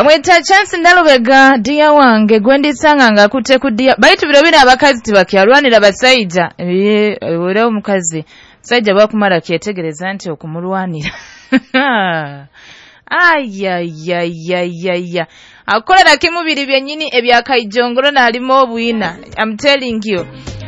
Bamwita Chance Nalubega dia wange gwendisanga nga akutte ku dia baitu biro bino abakazi tibakyalwanira basaija era omukazi musajja bwakumala kyetegereza nti okumulwanira ayayayayaya akolera kimubiri byennyini ebyakaijongolo n'alimu obwina. I'm telling you.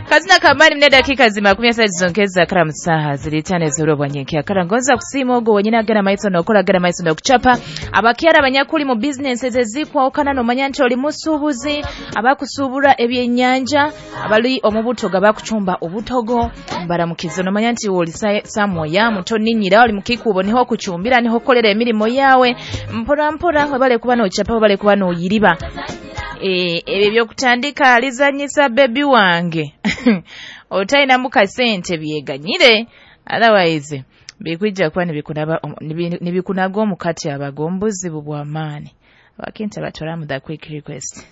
Kazina kamani mne dakika zima 13 zonkeza kara musaha zilitane zoro bwanyenke akara ngonza kusiima ogo wenyina agera maiso nokola agera maiso nokuchapa abakyara abanyakuli mu businesses ezikwawukana nomanya nti oli musuubuzi abakusuubura ebyennyanja abali omubutogo abakucumba obutogo mbaramukizo nomanya nti oli samoya mutoninyira oli mukikubo niho kucumbira niho kolera emirimo yawe mpora mpora webale kuba nochapa webale kuba noyiriba ebyo byokutandika alizanyisa baby wange otalina mukasente byeganyire otherwise bikwijja kuba nibikunaga omukati abagombuzibu bw'amaani abakinta batwalamu the quick request.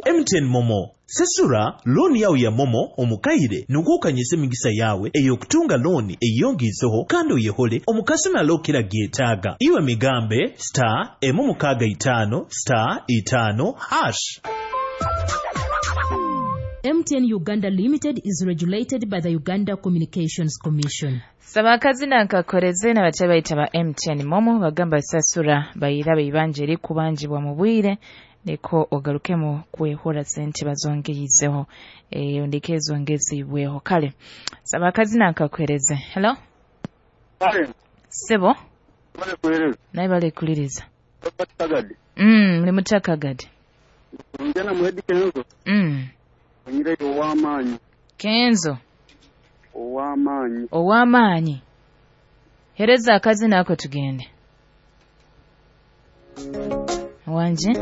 MTN Momo sesura looni yawe ya Momo omukaire nugukanyisa emigisa yawe ey'okutunga looni eyongizeho kandi oyehole omukasumi alokera gyetaaga iwe migambe star 6 star 5 hash. MTN Uganda Limited is regulated by the Uganda Communications Commission. Sabakazi nankakoreze n'abakyala bayita ba MTN Momo bagamba sasura bayira beibanja erikubanjibwa mu bwire niko ogarukemu kwehora sente bazongeyizeho ondike ezongezibweho. Kale sabakazi nankakoreze. Hello sebo naye balekuliriza muli mutakagadi njana muhedi Kenzo ow'amaanyi Kenzo ow'amaanyi ow'amaanyi hereza akazina ako tugende wanje.